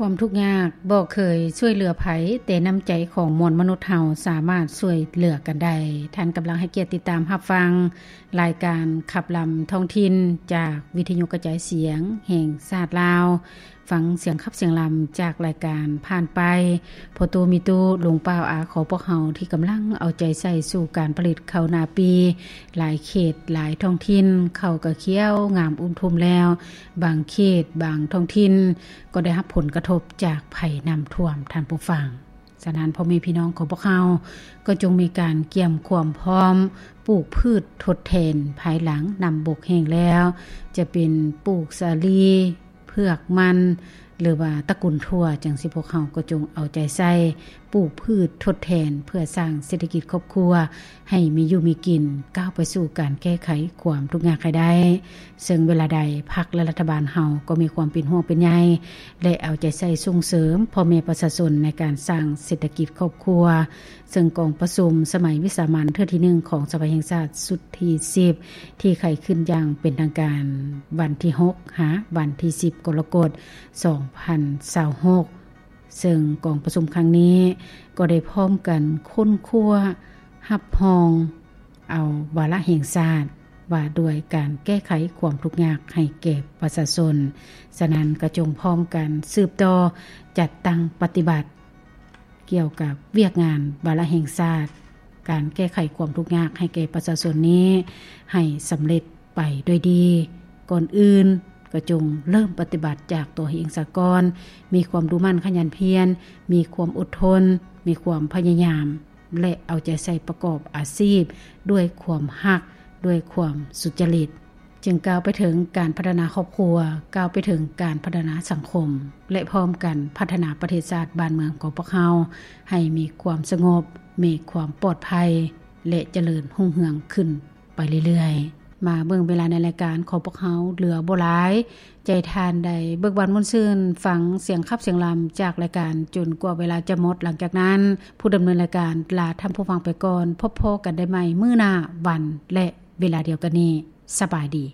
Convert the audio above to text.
ຄວາມທຸກຍາກບໍ່ເຄີຍຊ່ວຍເຫຼືອໃຜ, ແຕ່ນ້ຳໃຈຂອງມວນມະນຸດເຮົາສາມາດຊ່ວຍເຫຼືອກັນໄດ້. ທ່ານກຳລັງໃຫ້ກຽດຕິດຕາມຮັບຟັງລາຍການຂັບລຳທ້ອງຖິ່ນ ຈາກວິທະຍຸກະຈາຍສຽງແຫ່ງຊາດລາວ. ຟັງສຽງຂັບສຽງລຳຈາກລາຍການຜ່ານໄປ. ພໍ່ຕູ້ແມ່ຕູ້ ລຸງປ້າອາຂອງພວກເຮົາທີ່ກຳລັງເອົາໃຈໃສ່ສູ່ການຜະລິດເຂົ້ານາປີ. ຫຼາຍເຂດ, ຫຼາຍທ້ອງຖິ່ນ ເຂົ້າກະຂຽວງາມອຸ້ມທຸ່ມແລ້ວ. ບາງເຂດ, ບາງທ້ອງຖິ່ນ ກໍໄດ້ຮັບຜົນກະທົບຈາກໄພນ້ຳຖ້ວມ, ທ່ານຜູ້ຟັງ. ສະນັ້ນ, ພໍ່ແມ່ພີ່ນ້ອງຂອງພວກເຮົາກໍຈົ່ງມີການກຽມຄວາມພ້ອມປູກພືດທົດແທນ ພາຍຫຼັງນ້ຳບົກແຫ້ງແລ້ວ, ຈະເປັນປູກສາລີ, ເຜືອກ, ມັນ ຫຼືວ່າຕະກຸນຖົ່ວຈັ່ງຊີ້, ພວກເຮົາກໍຈົ່ງເອົາໃຈໃສ່ປູກພືດທົດແທນ ເພື່ອສ້າງເສດຖະກິດຄອບຄົວ ໃຫ້ມີຢູ່ມີກິນ, ກ້າວໄປສູ່ການແກ້ໄຂຄວາມທຸກຍາກໃຫ້ໄດ້. ເຊິ່ງເວລາໃດ ພັກ ແລະ ລັດຖະບານເຮົາກໍມີຄວາມເປັນຫ່ວງເປັນໃຍ ແລະ ເອົາໃຈໃສ່ສົ່ງເສີມພໍ່ແມ່ປະຊາຊົນໃນການສ້າງເສດຖະກິດຄອບຄົວ. ເຊິ່ງກອງປະຊຸມສະໄໝວິສາມັນເທື່ອທີໜຶ່ງຂອງສະພາແຫ່ງຊາດຊຸດທີສິບ ທີ່ໄຂຂຶ້ນຢ່າງເປັນທາງການວັນທີຫົກ ຫາ ວັນທີສິບ ກໍລະກົດ ສອງພັນຊາວຫົກ. ເຊິ່ງກອງປະຊຸມຄັ້ງນີ້ກໍໄດ້ພ້ອມກັນຄົ້ນຄວ້າຮັບຮອງເອົາວາລະແຫ່ງຊາດວ່າດ້ວຍການແກ້ໄຂຄວາມທຸກຍາກໃຫ້ແກ່ປະຊາຊົນ. ສະນັ້ນກໍຈົ່ງພ້ອມກັນສືບຕໍ່ຈັດຕັ້ງປະຕິບັດ ກ່ຽວກັບວຽກງານວາລະແຫ່ງຊາດ ການແກ້ໄຂຄວາມທຸກຍາກໃຫ້ແກ່ປະຊາຊົນນີ້ ໃຫ້ສຳເລັດໄປດ້ວຍດີ. ກ່ອນອື່ນກໍຈົ່ງເລີ່ມປະຕິບັດຈາກຕົວເອງສາກ່ອນ, ມີຄວາມດຸໝັ່ນຂະຫຍັນພຽນ, ມີຄວາມອົດທົນ, ມີຄວາມພະຍາຍາມ ແລະ ເອົາໃຈໃສ່ປະກອບອາຊີບດ້ວຍຄວາມຮັກ, ດ້ວຍຄວາມສຸດຈະລິດ. ຈຶ່ງກ້າວໄປເຖິງການພັດທະນາຄອບຄົວ, ກ້າວໄປເຖິງການພັດທະນາສັງຄົມ ແລະ ພ້ອມກັນພັດທະນາປະເທດຊາດບ້ານເມືອງຂອງພວກເຮົາ ໃຫ້ມີຄວາມສະຫງົບ, ມີຄວາມປອດໄພ ແລະ ຈະເລີນຮຸ່ງເຮືອງຂຶ້ນໄປເລື້ອຍໆ. ມາເບິ່ງເວລາໃນລາຍການຂອງພວກເຮົາເຫຼືອບໍ່ຫຼາຍ. ໃຈທ່ານໄດ້ເບີກບານມ່ວນຊື່ນ ຟັງສຽງຂັບສຽງລຳຈາກລາຍການຈົນກວ່າເວລາຈະໝົດ. ຫຼັງຈາກນັ້ນ, ຜູ້ດຳເນີນລາຍການລາທ່ານຜູ້ຟັງໄປກ່ອນ. ພົບພໍ້ກັນໄດ້ໃໝ່ມື້ໜ້າ ວັນ ແລະ ເວລາດຽວກັນນີ້. ສະບາຍດີ.